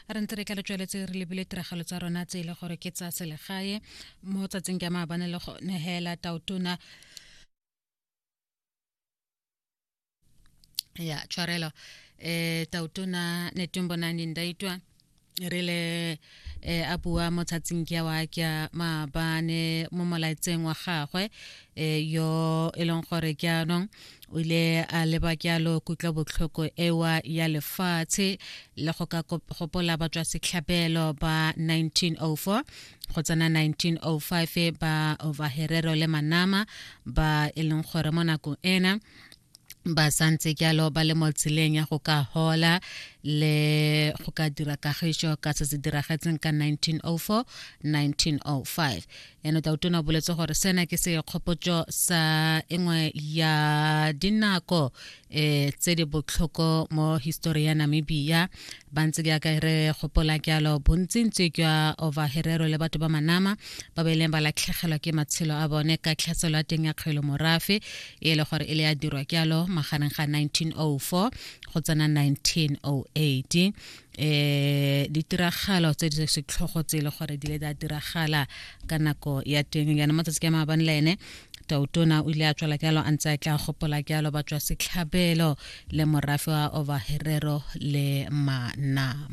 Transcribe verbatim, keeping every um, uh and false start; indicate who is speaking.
Speaker 1: Re ntse re tla re tsweletse re lebile tiragalo tsa rona tse e le gore ke tsa selegae mo tsatsing ke maabane le go nehela tautona ya tshwarelo eh tautona Netumbo Nandi-Ndaitwah re le eh, a bua mo tsatsing ke wa ke maabane mo molaetseng wa gagwe eh, yo e leng gore jaanong o ile a leba jalo kutlobotlhoko ewa ya lefatshe le go ka gopola batswa setlhabelo ba nineteen oh four go tsena nineteen oh five ba Ovaherero le Manama ba e leng gore mo nakong ena ba santse jalo ba le mo tseleng ya go ka hola le go ka dira kagišo ka se se diragetseng ka nineteen oh four nineteen oh five. Eno tautona o boletse gore sena ke sekgopotso sa engwe ya dinako eh tse di botlhoko mo history ya Namibia. Ba ntse jaaka re gopola jalo bontsintsi jwa Ovaherero le batho ba Manama ba ba ileng ba latlhegelwa ke matshelo a bone ka tlhaselo ya teng ya kgwele morafe e le gore e le ya dirwa jalo magareng ga nineteen oh four go tsena nineteen oh eight. Eh ditiragalo tse di setlhogo tse e le gore di le di a diragala ka nako ya teng. Jaanong matsatsi ke maabane le ene tautona o ile a tswela jalo a ntse a tla gopola jalo ba tswa setlhabelo le morafe wa Ovaherero le Manama.